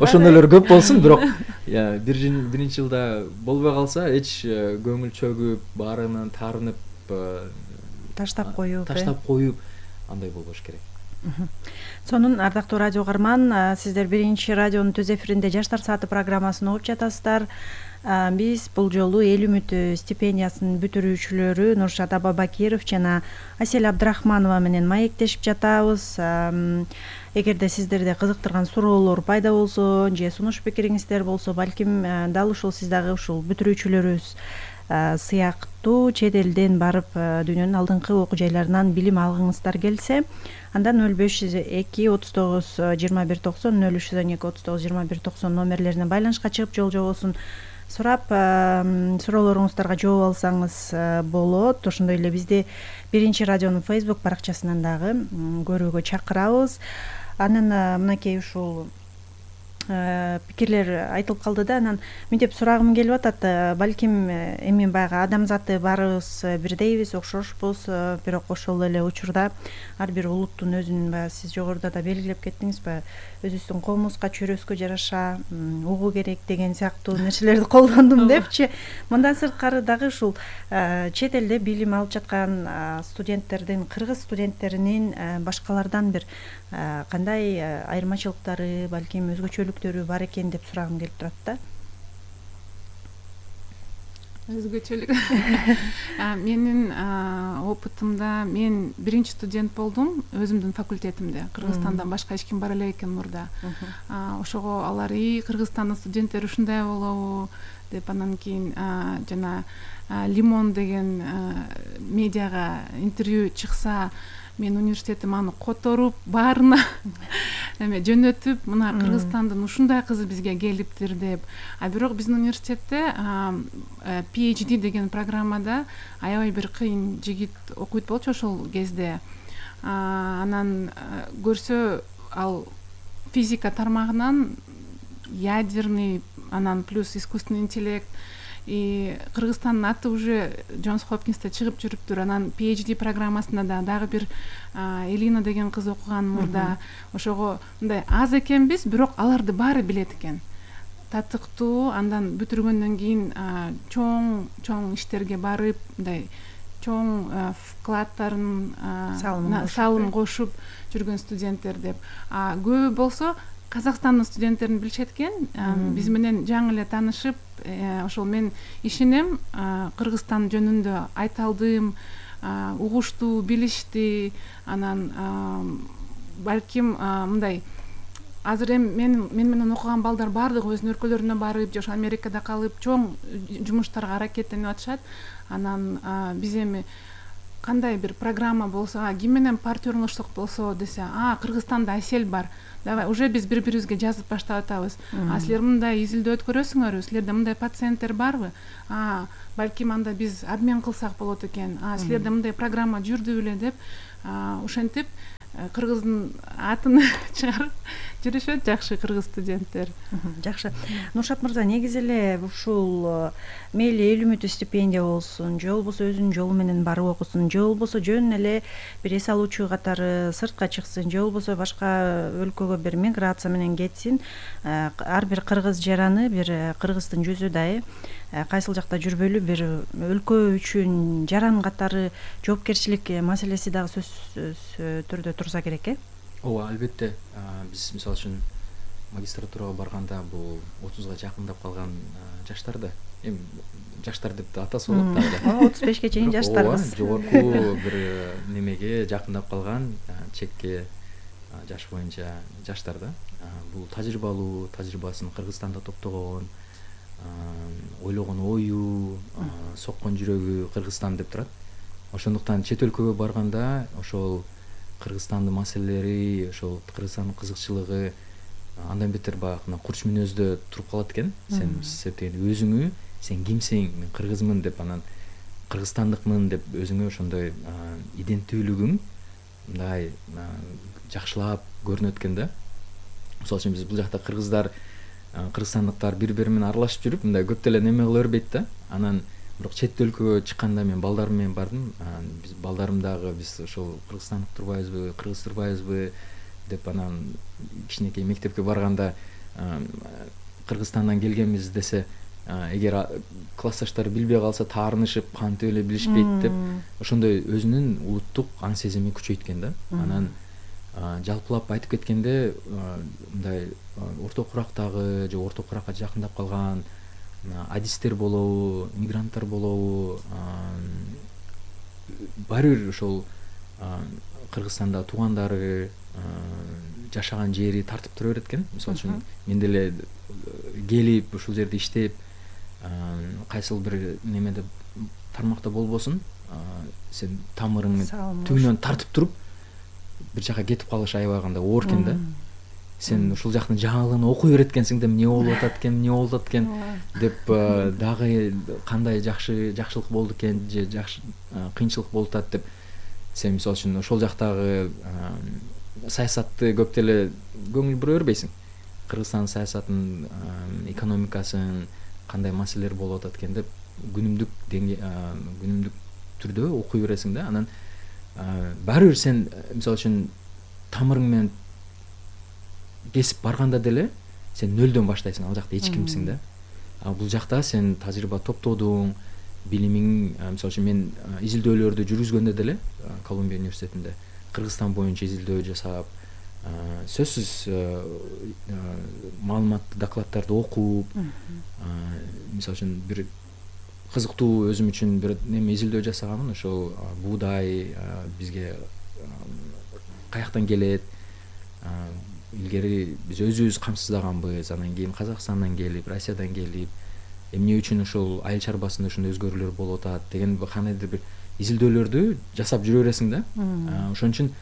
Ошондойлор көп болсун, бирок биринчи жылда болбой калса эч көңүл чөгүп, баарынан таарынып, таштап коюп, таштап коюп андай болбош керек. Сонун ардактуу радио угарман, сиздер биринчи радионун түз эфиринде Жаштар сааты программасын угуп жатасыздар. Биз бул жолу эл үмүтү стипендиясынын бүтүрүүчүлөрү Нуршат Абабакиров жана Асель Абдрахманова менен маектешип жатабыз. Эгерде сиздерде кызыктырган суроолор пайда болсо же сунуш пикириңиздер болсо, балким дал ушул сиз дагы ушул бүтүрүүчүлөрүбүз сыяктуу чет элден барып дүйнөнүн алдыңкы окуу жайларынан билим алгыңыздар келсе, анда нөл беш жүз эки отуз тогуз жыйырма бир токсон, нөл үч жүз он эки отуз тогуз жыйырма бир токсон номерлерине байланышка чыгып жол жобосун сурап, суроолоруңуздарга жооп алсаңыз болот. Ошондой эле бизди биринчи радионун Facebook баракчасынан дагы көрүүгө чакырабыз. Анан мынакей ушул пикирлер айтылып калды да, анан мынтип сурагым келип атат. Балким эми баягы адамзаты баарыбыз бирдейбиз, окшошпуз, бирок ошол эле учурда ар бир улуттун өзүнүн, баягы сиз жогоруда да белгилеп кеттиңиз, баягы өзүбүздүн коомубузга, чөйрөсүгө жараша угуу керек деген сыяктуу нерселерди колдондум депчи. Мындан сырткары дагы ушул чет элде билим алып жаткан студенттердин, кыргыз студенттеринин башкалардан бир кандай айырмачылыктары, балким өзгөчөлүктөрү бар экен деп сурагым келип турат да. Өзгөчөлүк. Менин опытымда мен биринчи студент болдум өзүмдүн факультетимде. Кыргызстандан башка эч ким бара элек экен мурда. Ошого алар и Кыргызстандын студенттери ушундай болобу деп, анан кийин жана Лимон деген медиага интервью чыкса, мен университетим аны которуп, баарына эме жөнөтүп, мына Кыргызстандын ушундай кызы бизге келиптир деп. А бирок биздин университетте пи эйч ди деген программада аябай бир кыйын жигит окуйт болчу ошол кезде. Анан көрсө, ал физика тармагынан ядерный, анан плюс искусственный интеллект, и Кыргызстандын аты уже Джонс Хопкинсте чыгып жүрүптүр. Анан пи эйч ди программасында да дагы бир Элина деген кыз окуган мурда. Ошого мындай аз экенбиз, бирок аларды баары билет экен. Татыктуу, андан бүтүргөндөн кийин чоң чоң иштерге барып, мындай чоң вкладтарын салым кошуп жүргөн студенттер деп. А көбү болсо Казакстандын студенттерин билишет экен. Биз менен жаңы эле таанышып, ошол мен ишенем, Кыргызстан жөнүндө айта алдым, угушту, билишти. Анан балким мындай азыр эми мен мен менен окуган балдар баардыгы өзүнүн өлкөлөрүнө барып, же ошо Америкада калып чоң жумуштарга аракеттенип атышат. Анан биз эми кандай бир программа болсо, ким менен партнерлашсак болсо десе, а Кыргызстанда Асель бар. Давай, уже биз бири-бирибизге жазып баштап атабыз. А силер мындай изилдөө өткөрөсүңөрбү? Силерде мындай пациенттер барбы? А, балким анда биз обмен кылсак болот экен. А, силерде мындай программа жүрдү беле деп, ошентип кыргыздын атын чыгарып жүрүшөт жакшы кыргыз студенттер. Жакшы. Нуршат мырза, негизи эле ушул мейли эл үмүтү стипендия болсун, же болбосо өзүнүн жолу менен барып окусун, же болбосо жөн эле бир эс алуучу катары сыртка чыксын, же болбосо башка өлкөгө бир миграция менен кетсин, ар бир кыргыз жараны бир кыргыздын жүзү да э кайсыл жакта жүрбөйлү бир өлкө үчүн жаран катары жоопкерчилик маселеси дагы сөзсүз түрдө турса керек э. ооба, албетте. Биз мисалы үчүн магистратурага барганда бул отузга жакындап калган жаштар да, эми жаштар деп да атаса болот дагы. отуз бешке чейин жаштарбыз. Ооба, жогорку бир немеге жакындап калган чекке жаш боюнча жаштар да. Бул тажрыйбалуу, тажрыйбасын Кыргызстанда топтогон, ойлогон ою, соккон жүрөгү Кыргызстан деп турат. Ошондуктан чет өлкөгө барганда ошол Кыргызстандын маселелери, ошол Кыргызстандын кызыкчылыгы андан бетер баягы курч мүнөздө туруп калат экен. Сен септен өзүңү, сен кимсиң, мен кыргызмын деп, анан кыргызстандыкмын деп өзүңө ошондой иденттүүлүгүң мындай жакшылап көрүнөт экен да. Мисалы үчүн биз бул жакта кыргыздар, кыргызстандыктар бири-бири менен аралашып жүрүп, мындай көп деле неме кыла бербейт да. Анан бирок чет өлкөгө чыкканда мен балдарым менен бардым. Биз балдарым дагы биз ошол кыргызстандык турбайбызбы, кыргыз турбайбызбы деп, анан кичинекей мектепке барганда Кыргызстандан келгенбиз десе, эгер классташтары билбей калса таарынышып, кантип эле билишпейт деп, ошондой өзүнүн улуттук аң сезими күчөйткөн да. Анан жалпылап айтып кеткенде, мындай орто курактагы же орто куракка жакындап калган адистер болобу, мигранттар болобу, баары бир ошол Кыргызстанда туугандары, жашаган жери тартып тура берет экен. Мисалы үчүн мен деле келип ушул жерде иштеп, кайсыл бир немеде тармакта болбосун, сен тамырың түбүнөн тартып туруп бир жака кетип калыш аябагында оор экен да. Сен ушул жактын жаңылыгын окуй берет экенсиң да, эмне болуп атат экен, эмне болуп атат экен деп, дагы кандай жакшы жакшылык болду экен же жакшы кыйынчылык болуп атат деп, сен мисалы үчүн ошол жактагы саясатты көп деле көңүл бура бербейсиң. Кыргызстандын саясатын, экономикасын, кандай маселелер болуп атат экен деп күнүмдүк күнүмдүк түрдө окуй бересиң да. Анан баары бир сен мисалы үчүн тамырың менен кесип барганда деле сен нөлдөн баштайсың, ал жакта эч кимсиң да. А бул жакта сен тажрыйба топтодуң, билимиң, мисалы үчүн мен изилдөөлөрдү жүргүзгөндө деле Колумбия университетинде Кыргызстан боюнча изилдөө жасап, сөзсүз маалыматтуу докладдарды окуп, мисалы үчүн бир кызыктуу өзүм үчүн бир неме изилдөө жасаганмын. Ошол буудай бизге каяктан келет, илгери биз өзүбүз камсыздаганбыз, анан кийин Казакстандан келип, Россиядан келип, эмне үчүн ошол айыл чарбасында ушундай өзгөрүүлөр болуп атат деген кандайдыр бир изилдөөлөрдү жасап жүрө бересиң да. Ошон үчүн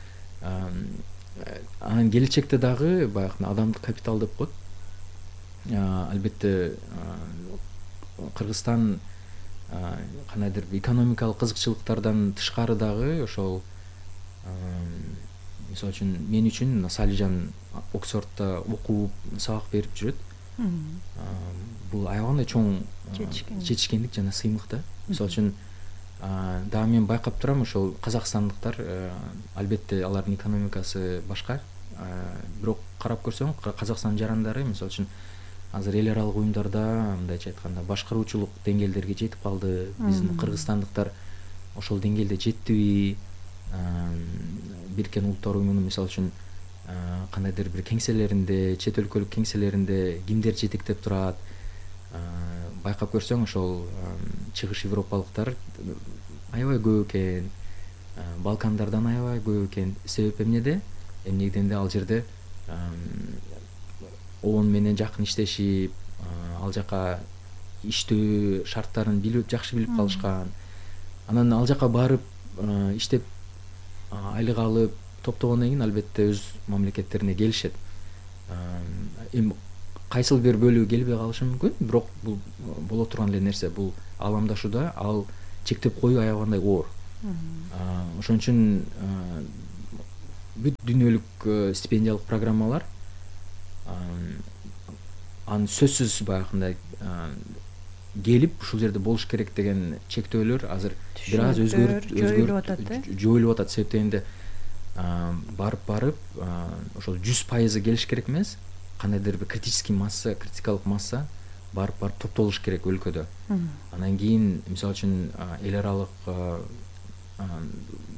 анан келечекте дагы баягы адамдык капитал деп коет. Албетте Кыргызстан кандайдыр экономикалык кызыкчылыктардан тышкары дагы ошол, мисалы үчүн мен үчүн Салижан Оксфордто окуп, сабак берип жүрөт. Бул аябагандай чоң жетишкендик жана сыймык да. Мисалы үчүн дагы мен байкап турам, ошол казакстандыктар, албетте алардын экономикасы башка, бирок карап көрсөң Казакстандын жарандары мисалы үчүн азыр эл аралык уюмдарда, мындайча айтканда, башкаруучулук деңгээлдерге жетип калды. Биздин кыргызстандыктар ошол деңгээлде жеттиби? Бириккен Улуттар уюмунун мисалы үчүн кандайдыр бир кеңселеринде, чет өлкөлүк кеңселеринде кимдер жетектеп турат? Байкап көрсөң ошол чыгыш европалыктар аябай көп экен, Балкандардан аябай көп экен. Себеп эмнеде? Эмне дегенде ал жерде ООН менен жакын иштешип, ал жака иштөө шарттарын билип, жакшы билип калышкан. Анан ал жака барып иштеп айлык алып топтогондон кийин албетте өз мамлекеттерине келишет. Эми кайсыл бир бөлүгү келбей калышы мүмкүн, бирок бул боло турган эле нерсе. Бул ааламдашууда ал чектеп коюу аябагандай оор. Ошон үчүн бүт дүйнөлүк стипендиялык программалар анын сөзсүз баягындай келип ушул жерде болуш керек деген чектөөлөр азыр бир аз өзгөрүп жоюлуп атат э жоюлуп атат. Себеп дегенде барып барып ошол жүз пайызы келиш керек эмес, кандайдыр бир критический масса, критикалык масса барып барып топтолуш керек өлкөдө. Анан кийин мисалы үчүн эл аралык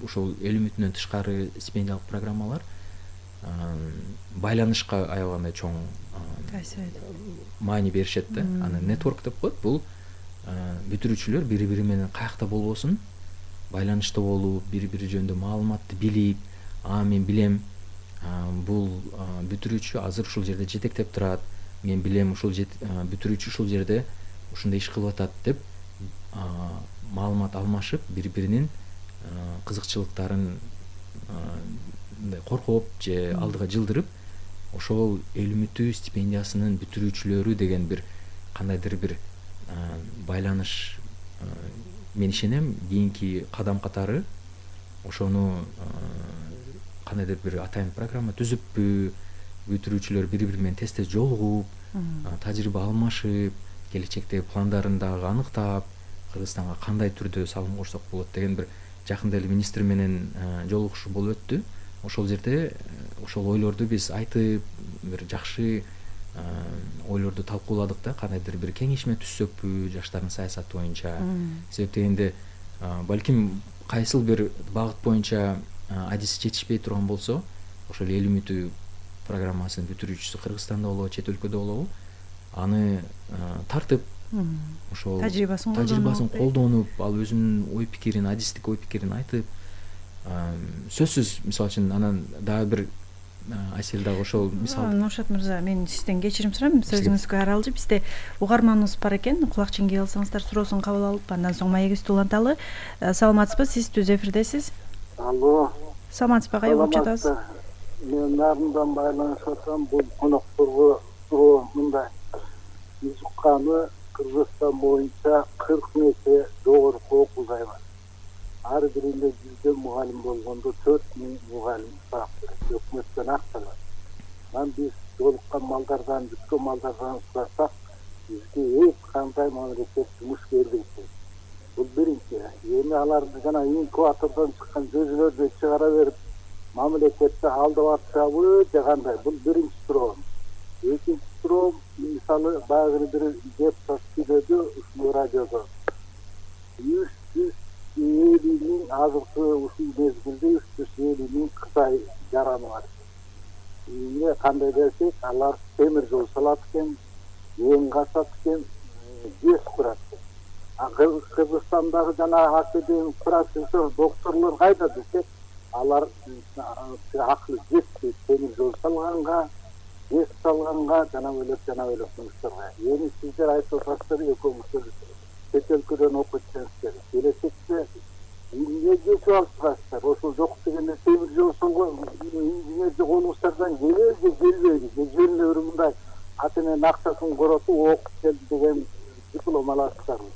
ошол эл үмүтүнөн тышкары стипендиялык программалар байланышка аябагандай чоң маани беришет да. Аны нетворк деп коет. Бул бүтүрүүчүлөр бири бири менен каякта болбосун, байланышта болуп, бири-бири жөнүндө маалыматты билип, а мен билем бул бүтүрүүчү азыр ушул жерде жетектеп турат, мен билем ушул бүтүрүүчү ушул жерде ушундай иш кылып атат деп маалымат алмашып, бири-биринин кызыкчылыктарын мындай коркоп же алдыга жылдырып, ошол эл үмүтү стипендиясынын бүтүрүүчүлөрү деген бир кандайдыр бир байланыш, мен ишенем кийинки кадам катары ошону кандайдыр бир атайын программа түзүппү, бүтүрүүчүлөр бири-бири менен тез тез жолугуп, тажрыйба алмашып, келечектеги пландарын дагы аныктап, Кыргызстанга кандай түрдө салым кошсок болот деген бир жакында эле министр менен жолугушуу болуп өттү. Ошол жерде ошол ойлорду биз айтып, бир жакшы ойлорду талкууладык да, кандайдыр бир кеңешме түзсөкпү жаштардын саясаты боюнча. Себеп дегенде балким кайсыл бир багыт боюнча адиси жетишпей турган болсо, ошол эл үмүтү программасынын бүтүрүүчүсү Кыргызстанда болобу, чет өлкөдө болобу, аны тартып, ошол тажрыйбасын колдонуп, ал өзүнүн ой пикирин, адистик ой пикирин айтып, сөзсүз мисалы үчүн анан дагы бир Айсел дагы ошол мисал. Нуршат мырза, мен сизден кечирим сурайм, сөзүңүзгө аралжы. Бизде угарманыбыз бар экен, кулак ченгей алсаңыздар суроосун кабыл алып, андан соң маегибизди уланталы. Саламатсызбы, сиз түз эфирдесиз. Алло. Саламатсызбы, кайда угуп жатасыз? Мен нарындан байланышып атам, бул конокторго суроо мындай. Биз укканы Кыргызстан боюнча кырк нече жогорку окуу жай бар. Ар биринде жүздөн мугалим болгондо төрт миң мугалим саап берет, өкмөттөн акча алат. Анан биз жолуккан малдардан, бүткөн малдардан сурасак, бизге эч кандай мамлекет жумуш бербейт. Бул биринчи. Эми аларды жана инкубатордон чыккан көзөлөрдү чыгара берип, мамлекетте алдап атышабы же кандай? Бул биринчи суроо. Экинчи суроо, мисалы баягы бир депутат сүйлөдү ушул радиодо. үч жүз элүү миң азыркы ушул мезгилде үч жүз элүү миң Кытай жараны бар. Эмне кандай десек, алар темир жол салат экен, эң касат экен, жез курат экен. А Кыргызстандагы жана академик профессор, докторлор кайда десек, алар акылы жетпейт темир жол салганга, жез салганга, жана бөлөк жана бөлөк жумуштарга. Эми сиздер айтып атасыздар, экөөңүздөр чет өлкөдөн окуп келсеңиздер, келечекте эмне жетип алыпсыздар? Ошол жок дегенде темир жол салган инженерди колуңуздардан келеби же келбейби? Же жөн эле мындай ата эненин акчасын коротуп окуп келди деген диплом аласыздарбы?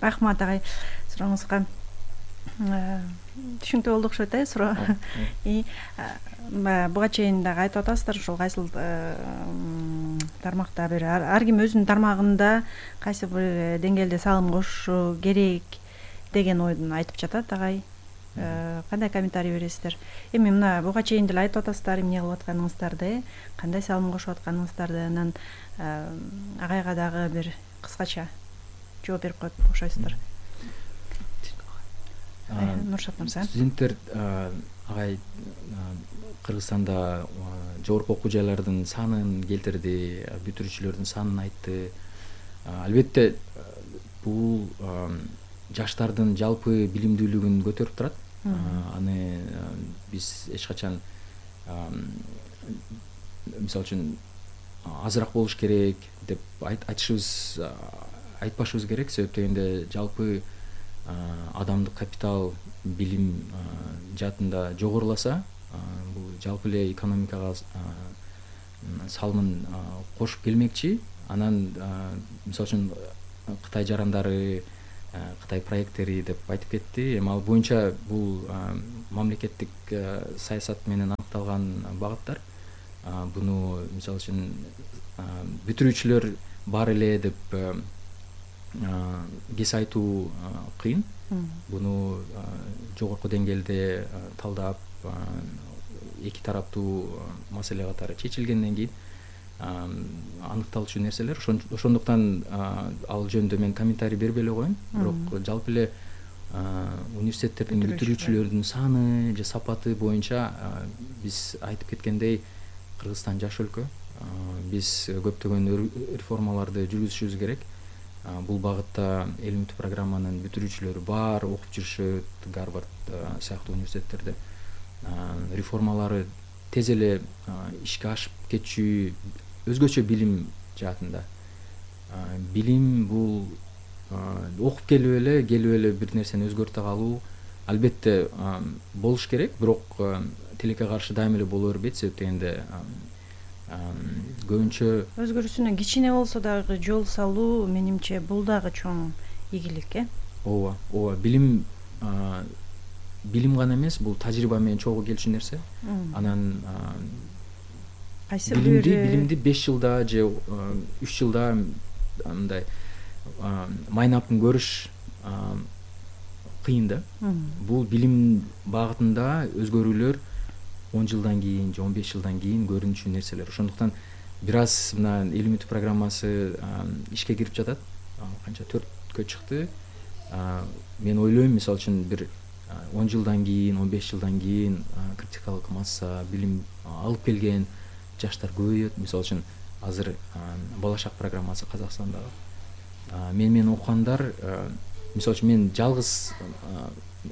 Рахмат агай, сурооңузга түшүнүктүү болду окшойт э суроо. И буга чейин дагы айтып атасыздар, ушул кайсыл тармакта бир ар ким өзүнүн тармагында кайсы бир деңгээлде салым кошушу керек деген ойдун айтып жатат агай. Кандай комментарий бересиздер? Эми мына буга чейин деле айтып атасыздар эмне кылып атканыңыздарды, кандай салым кошуп атканыңыздарды, анан агайга дагы бир кыскача жооп берип коет окшойсуздар. Нуршат мырза. Студенттер агай Кыргызстанда жогорку окуу жайлардын санын келтирди, бүтүрүүчүлөрдүн санын айтты. Албетте бул жаштардын жалпы билимдүүлүгүн көтөрүп турат. Аны биз эч качан мисалы үчүн азыраак болуш керек деп айтышыбыз, айтпашыбыз керек. Себеп дегенде жалпы адамдык капитал, билим жаатында жогоруласа, бул жалпы эле экономикага салымын кошуп келмекчи. Анан мисалы үчүн Кытай жарандары Кытай проекттери деп айтып кетти. Эми ал боюнча бул мамлекеттик саясат менен аныкталган багыттар. Буну мисалы үчүн бүтүрүүчүлөр бар эле деп кесип айтуу кыйын. Буну жогорку деңгээлде талдап, эки тараптуу маселе катары чечилгенден кийин аныкталчу нерселер. Ошондуктан ал жөнүндө мен комментарий бербей эле коеюн. Бирок жалпы эле университеттердин бүтүрүүчүлөрдүн саны же сапаты боюнча биз айтып кеткендей Кыргызстан жаш өлкө. Биз көптөгөн реформаларды жүргүзүшүбүз керек. Бул багытта эл үмүтү программанын бүтүрүүчүлөрү бар, окуп жүрүшөт, Гарвард сыяктуу университеттерде. Реформалары тез эле ишке ашып кетчү, өзгөчө билим жаатында. Билим бул окуп келип эле, келип эле бир нерсени өзгөртө калуу албетте болуш керек, бирок тилекке каршы дайыма эле боло бербейт. Себеп дегенде көбүнчө өзгөрүүсүнө кичине болсо дагы жол салуу, менимче бул дагы чоң ийгилик, э? Ооба, ооба. Билим билим гана эмес, бул тажрыйба менен чогуу келчү нерсе. Анан кайсы билимди билимди беш жылда же үч жылда мындай майнапын көрүш кыйын да. Бул билим багытында өзгөрүүлөр он жылдан кийин же он беш жылдан кийин көрүнүчү нерселер. Ошондуктан бир аз мына эл үмүтү программасы ишке кирип жатат. Канча төрткө чыкты. Мен ойлойм, мисалы үчүн бир он жылдан кийин, он беш жылдан кийин критикалык масса, билим алып келген жаштар көбөйөт. Мисалы үчүн азыр Балашак программасы Казакстандагы. Мен мен окугандар, мисалы үчүн мен жалгыз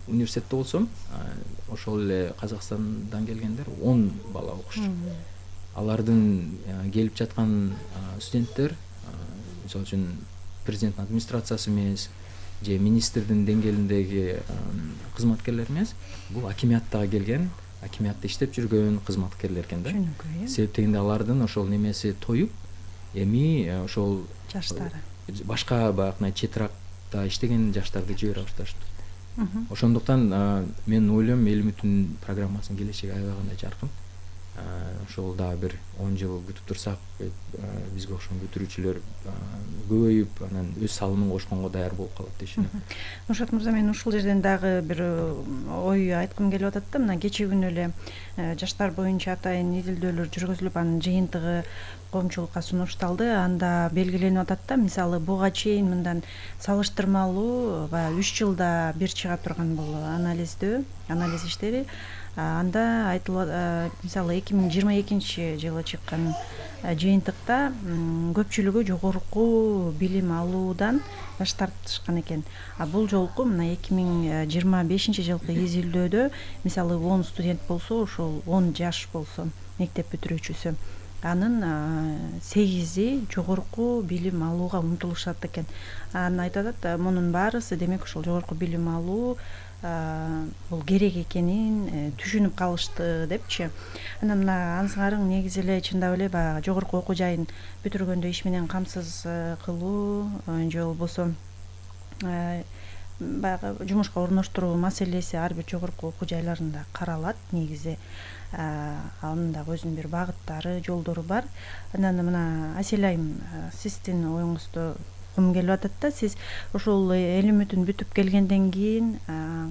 университетте болсом, ошол эле Казакстандан келгендер он бала окушчу. Алардын келип жаткан студенттер, мисалы үчүн президенттин администрациясы эмес, же министрдин деңгээлиндеги кызматкерлер эмес, бул акимияттагы келген, акимиятта иштеп жүргөн кызматкерлер экен да. Себеп дегенде алардын ошол немеси тоюп, эми ошол жаштары башка баягы четиракта иштеген жаштарды жибере башташты. Ошондуктан мен ойлойм, эл үмүтүнүн программасынын келечеги аябай кандай жаркын. Ошол дагы бир он жыл күтүп турсак, бизге окшогон бүтүрүүчүлөр көбөйүп, анан өз салымын кошконго даяр болуп калат дешим. Нуршат мырза, мен ушул жерден дагы бир ой айткым келип атат да. Мына кечээ күнү эле жаштар боюнча атайын изилдөөлөр жүргүзүлүп, анын жыйынтыгы коомчулукка сунушталды. Анда белгиленип атат да, мисалы буга чейин мындан салыштырмалуу баягы үч жылда бир чыга турган бул анализдөө, анализ иштери. Анда айтылат, мисалы эки миң жыйырма экинчи жылы чыккан жыйынтыкта көпчүлүгү жогорку билим алуудан баш тартышкан экен. А бул жолку мына эки миң жыйырма бешинчи жылкы изилдөөдө мисалы он студент болсо, ошол он жаш болсо, мектеп бүтүрүүчүсү, анын сегизи жогорку билим алууга умтулушат экен. Анан айтат атат, мунун баарысы демек ошол жогорку билим алуу бул керек экенин түшүнүп калышты депчи. Анан мына аңсыңарың негизи эле чындап эле баягы жогорку окуу жайын бүтүргөндө иш менен камсыз кылуу же болбосо баягы жумушка орноштуруу маселеси ар бир жогорку окуу жайларында каралат негизи. Анын дагы өзүнүн бир багыттары, жолдору бар. Анан мына Асель айым, сиздин оюңузду кум келип атат да. Сиз ошол эл үмүтүн бүтүп келгенден кийин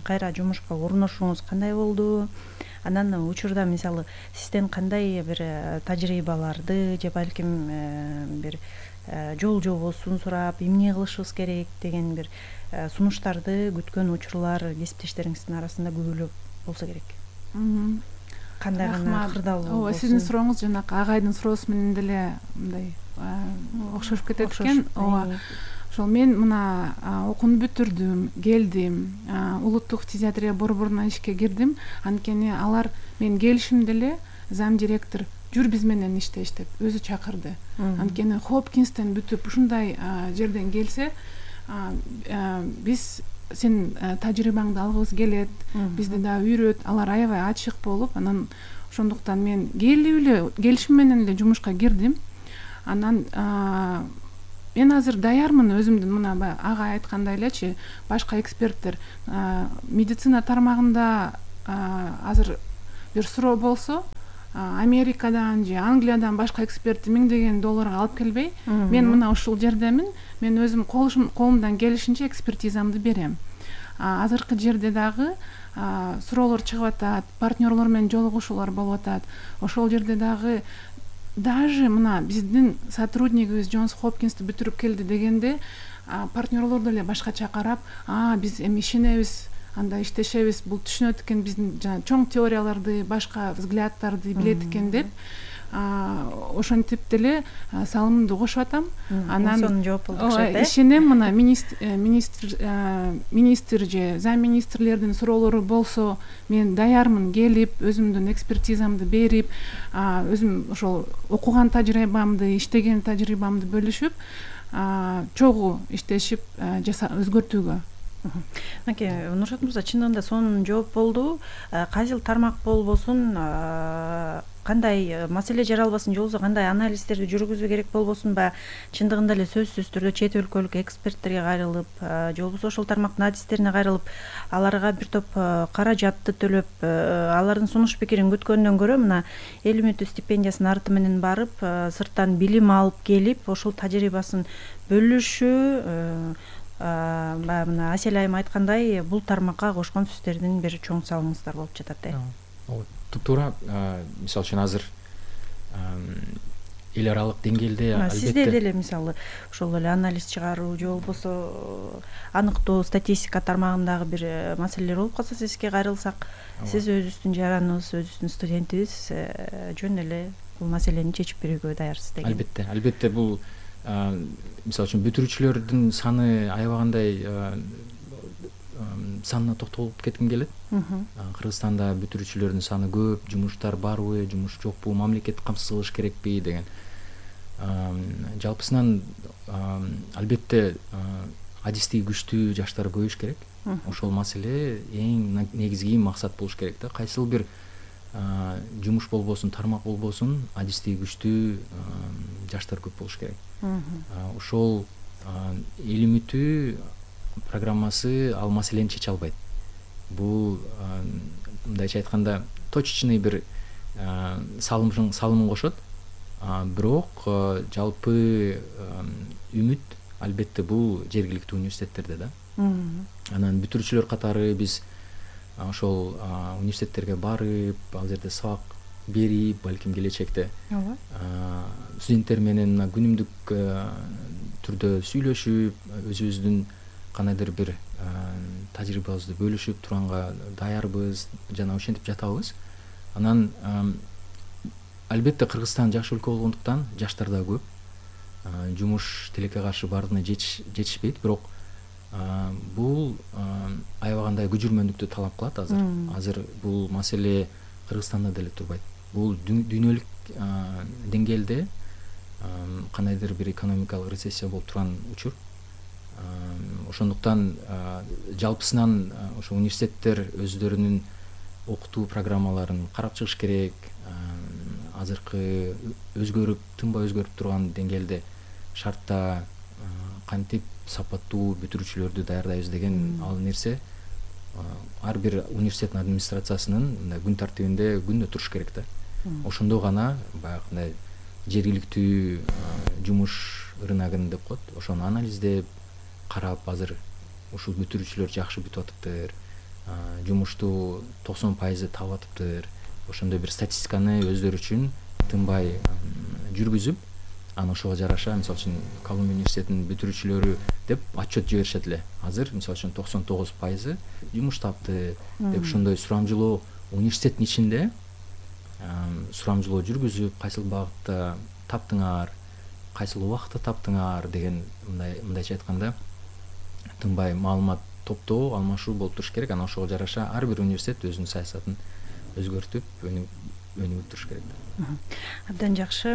кайра жумушка орношуңуз кандай болду? Анан учурда мисалы сизден кандай бир тажрыйбаларды же балким бир жол жобосун сурап, эмне кылышыбыз керек деген бир сунуштарды күткөн учурлар кесиптештериңиздин арасында көбүлөп болсо керек. Кандай гана кырдаалуу. Ооба, сиздин сурооңуз жанакы агайдын суроосу менен деле мындай окшошуп кетет экен. Ооба. Ошол мен мына окууну бүтүрдүм, келдим, улуттук фтизиатрия борборуна ишке кирдим. Анткени алар мен келишимде эле зам директор жүр биз менен иштеш деп өзү чакырды. Анткени Хопкинстен бүтүп ушундай жерден келсе, биз сен тажрыйбаңды алгыбыз келет, бизди да үйрөт. Алар аябай ачык болуп, анан ошондуктан мен келип эле келишим менен эле жумушка кирдим. Анан мен азыр даярмын өзүмдүн мына баягы ага айткандай элечи, башка эксперттер медицина тармагында азыр бир суроо болсо, Америкадан же Англиядан башка экспертти миңдеген долларга алып келбей, мен мына ушул жердемин, мен өзүм колумдан келишинче экспертизамды берем. Азыркы жерде дагы суроолор чыгып атат, партнерлор менен жолугушуулар болуп атат. Ошол жерде дагы даже мына биздин сотруднигибиз Джонс Хопкинсти бүтүрүп келди дегенде, партнерлор деле башкача карап, а биз эми ишенебиз, анда иштешебиз, бул түшүнөт экен биздин жана чоң теорияларды, башка взгляддарды билет экен деп, ошентип деле салымымды кошуп атам. Анан сонун жооп болду окшойт. Ишенем, мына министр министр же зам министрлердин суроолору болсо, мен даярмын келип, өзүмдүн экспертизамды берип, өзүм ошол окуган тажрыйбамды, иштеген тажрыйбамды бөлүшүп, чогуу иштешип өзгөртүүгө. Мынакей Нуршат мырза, чындыгында сонун жооп болду. Кайсыл тармак болбосун, кандай маселе жаралбасын жолубузда кандай анализдерди жүргүзүү керек болбосунбу, чындыгында эле сөзсүз түрдө чет өлкөлүк эксперттерге кайрылып, же болбосо ошол тармактын адистерине кайрылып, аларга бир топ каражатты төлөп, алардын сунуш пикирин күткөндөн көрө мына эл үмүтү стипендиясынын арты менен барып, сырттан билим алып келип, ошол тажрыйбасын бөлүшүү, баягы мына Асель айым айткандай, бул тармакка кошкон сөздөрдүн бир чоң салымыңыздар болуп жатат. Ооба, туптуура. Мисалы үчүн азыр эл аралык деңгээлде албетте сизде деле мисалы ошол эле анализ чыгаруу же болбосо аныктоо статистика тармагындагы бир маселелер болуп калса, сизге кайрылсак, сиз өзүбүздүн жараныбыз, өзүбүздүн студентибиз, жөн эле бул маселени чечип берүүгө даярсыз деген. Албетте, албетте бул мисалы үчүн бүтүрүүчүлөрдүн саны аябагандай санына токтолуп кетким келет. Кыргызстанда бүтүрүүчүлөрдүн саны көп, жумуштар барбы, жумуш жокпу, мамлекет камсыз кылыш керекпи деген. Жалпысынан албетте адистиги күчтүү жаштар көбөйүш керек. Ошол маселе эң негизги максат болуш керек да. Кайсыл бир жумуш болбосун, тармак болбосун, адистиги күчтүү жаштар көп болуш керек. Ошол эл үмүтү программасы ал маселени чече албайт. Бул мындайча айтканда точечный бир салым салымын кошот. Бирок жалпы үмүт албетте бул жергиликтүү университеттерде да. Анан бүтүрүүчүлөр катары биз ошол университеттерге барып, ал жерде сабак берип, балким келечекте студенттер менен күнүмдүк түрдө сүйлөшүп, өзүбүздүн кандайдыр бир тажрыйбабызды бөлүшүп турганга даярбыз жана ошентип жатабыз. Анан албетте Кыргызстан жакшы өлкө болгондуктан жаштар да көп. Жумуш тилекке каршы баардыгына жетишпейт, бирок бул аябагандай күжүрмөндүктү талап кылат азыр. Азыр бул маселе Кыргызстанда деле турбайт. Бул дүйнөлүк деңгээлде кандайдыр бир экономикалык рецессия болуп турган учур. Ошондуктан жалпысынан ошо университеттер өздөрүнүн окутуу программаларын карап чыгыш керек. Азыркы өзгөрүп, тынбай өзгөрүп турган деңгээлде шартта кантип сапаттуу бүтүрүүчүлөрдү даярдайбыз деген ал нерсе ар бир университеттин администрациясынын мындай күн тартибинде күндө туруш керек да. Ошондо гана баягындай жергиликтүү жумуш рыногун деп коет, ошону анализдеп карап, азыр ушул бүтүрүүчүлөр жакшы бүтүп атыптыр, жумушту токсон пайызы таап атыптыр, ошондой бир статистиканы өздөрү үчүн тынбай жүргүзүп, анан ошого жараша мисалы үчүн Колумбия университетинин бүтүрүүчүлөрү деп отчет жиберишет эле. Азыр мисалы үчүн токсон тогуз пайызы жумуш тапты деп ошондой сурамжылоо университеттин ичинде сурамжылоо жүргүзүп, кайсыл багытта таптыңар, кайсыл убакытта таптыңар деген мындай мындайча айтканда тынбай маалымат топтоо, алмашуу болуп туруш керек. Анан ошого жараша ар бир университет өзүнүн саясатын өзгөртүп, өнүгүп туруш керек. Абдан жакшы.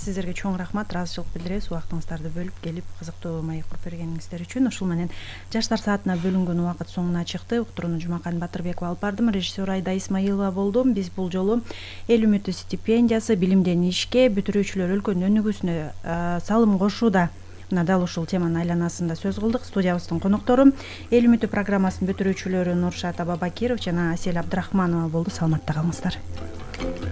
Сиздерге чоң рахмат, ыраазычылык билдиребиз убактыңыздарды бөлүп келип кызыктуу маек куруп бергениңиздер үчүн. Ушул менен жаштар саатына бөлүнгөн убакыт соңуна чыкты. Уктурууну Жумакан Батырбекова алып бардым, режиссер Айда Исмаилова болду. Биз бул жолу эл үмүтү стипендиясы, билимден ишке, бүтүрүүчүлөр өлкөнүн өнүгүүсүнө салым кошууда мына дал ушул теманын айланасында сөз кылдык. Студиябыздын коноктору Эл үмүтү программасынын бүтүрүүчүлөрү Нуршат Абабакиров жана Асель Абдрахманова болду. Саламатта калыңыздар.